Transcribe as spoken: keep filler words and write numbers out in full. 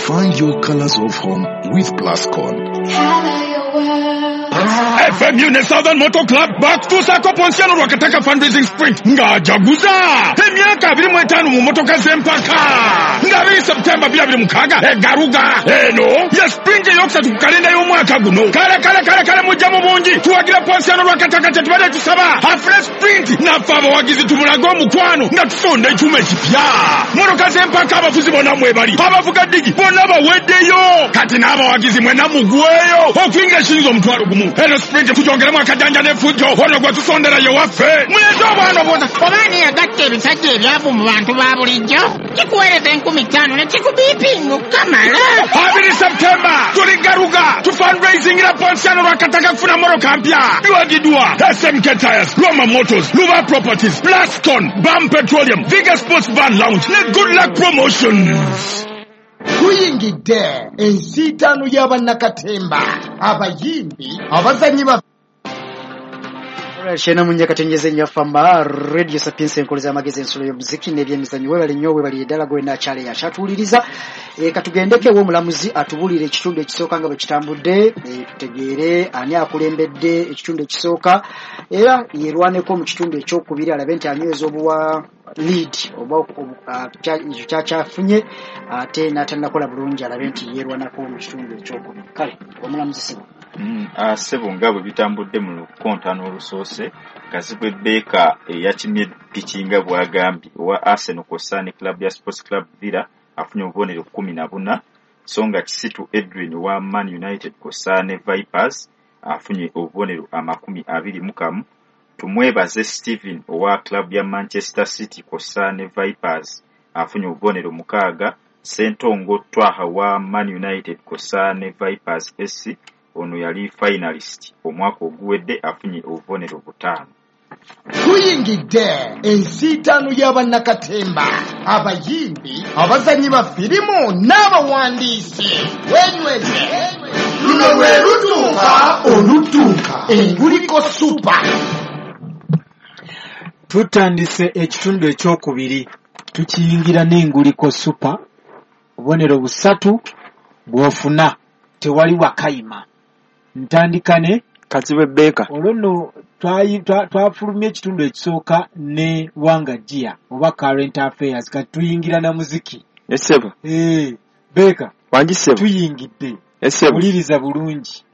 Find your colors of home with Plascon. Color your world. F M U ne Southern Motor Club bakutuusaako Ponsiano Lwakataka Fundraising Sprint ng'ajaguza emyaka abiri mu etaano mu motoka z'empaka, nga abiri Septemba bbiri abiri mukaaga e Garuga. Eno ye sprint eyokusatu ku kalenda y'omwaka guno. Kale kale kale kale, mujja mu bungi tuwagira Ponsiano Lwakataka. Kyetubadde tusaba afune sprint, naffe abawagizi tumulage omukwano nga tusonda ekyuma ekipya. Motoka z'empaka, abavuzi bonna mwebali, abavuga ddigi bonna baweddeyo. Kati n'abawagizi mwenna mugweyo okuyingira ekiyinza omutwalo gumu. Eno sprint tugyongeremu akajanja n'effujjo. Ono gwe tusondera ye waffe, muleete obwana bwona. Oba ani yagatta ebisajja ebyavu mu bantu ba bulijjo? Kikuweereza enkumi ttaano ne kikubiipinga okukamala. Abiri Septemba tuli Garuga, tufundraisingira Ponsiano Lwakataka kufuna mmotoka mpya. Biwagiddwa S M K Tires, Roma Motors, Luba Properties, Plascon, Bam Petroleum, Viga Sports Van Lounge ne Good Luck Promotions. Tuyingidde ensiitaano y'abannakatemba, abayimbi, abazanyi ba Kyena munye katenjeze nnyo fama Radio Sapiens, enkoleza amagezi, ensulo y'omuziki n'ebyemizannyo. Webale nnyo, webale ddala gwe nakyale yakyatuwuliriza. e, katugendeko ew'omulamuzi atubuulire ekitundu ekisooka nga bwe kitambudde, e, tutegeere ani akulembedde ekitundu ekisooka, era yerwaneko mu kitundu ekyokubiri alabe nti anyweza obuwa lead oba obu- ah, kya- ekyo kyakyafunye, ate n'atannakola bulungi alabe nti yeerwanako mu kitundu ekyokubiri. Kale omulamuzi, sibo. Mm, ah, ssebo, nga bwe bitambudde mu lukontano olusoose, Kazibwe Baker eyakimye piki nga bw'agambye owa Arsenal kw'ossa ne club ya Sports Club Villa afunye obubonero kkumi na buna, so nga Kisitu Edwin owa Man United kw'ossa ne Vipers afunye obubonero amakumi abiri mu kamu. Tumwebaze Steven owa club ya Manchester City kw'ossa ne Vipers afunye obubonero mukaaga. Sentongo Twaha wa Man United kw'ossa ne Vipers S C, ono yali finalist omwaka oguwedde, afunye obubonero butaano. Tuyingidde ensiitaano y'abannakatemba, abayimbi, abazanyi ba firimu n'abawandiisi. Wenyweze, luno lwe lutuuka olutuuka Enguliko Super. Tutandise ekitundu ekyokubiri, tukiyingira n'Enguliko Super. Obubonero busatu bw'ofuna, tewali wakayima. Ntandika ne Kazibwe Baker. Olwo nno twayi- twa- twafulumya ekitundu ekisooka ne Wanga Gia oba current affairs, kati tuyingira na muziki. Essebo. Eh, Baker. Wangi ssebo. Tuyingidde. Essebo. Wuliriza bulungi.